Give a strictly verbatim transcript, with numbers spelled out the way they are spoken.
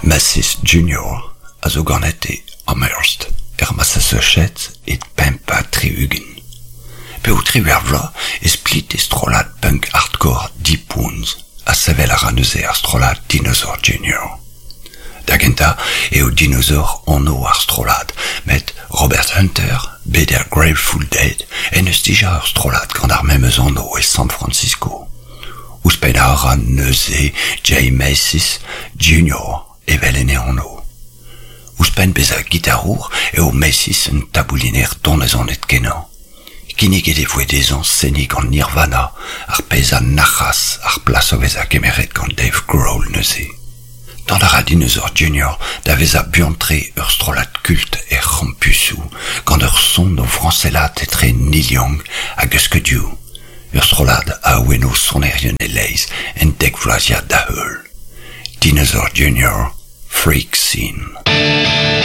Mathis Junior a zo ganet e Amherst, er Massachusetts e pemp ha tri-ugent. P'eo triwec'h vloaz e split e strollad punk hardcore Deep Wounds ha sevel a ra neuze ar strollad Dinosaur Junior. Da gentañ eo Dinosaur anv ar strollad, met Robert Hunter, bet er Grateful Dead, en deus dija ur strollad gant ar memes anv e San Francisco. Ouzhpennañ a ra neuze Jay Mathis Junior evel en e anv. Ouzhpenn bezañ gitarour eo Mathis un tabouliner donezonet-kenañ. Kinniget e voe dezhañ seniñ gant Nirvana, ar pezh a nac'has ar plas o vezañ kemeret gant Dave Grohl neuze. Dont a ra Dinosaur Junior da vezañ buan-tre ur strollad kult er c'hampusoù, gant ur son o vrañsellat etre Neil Young hag Husker Du. Ur strollad a awenno sonerien e-leizh en dek vloaziad da heul. Dinosaur Junior, Freak Scene.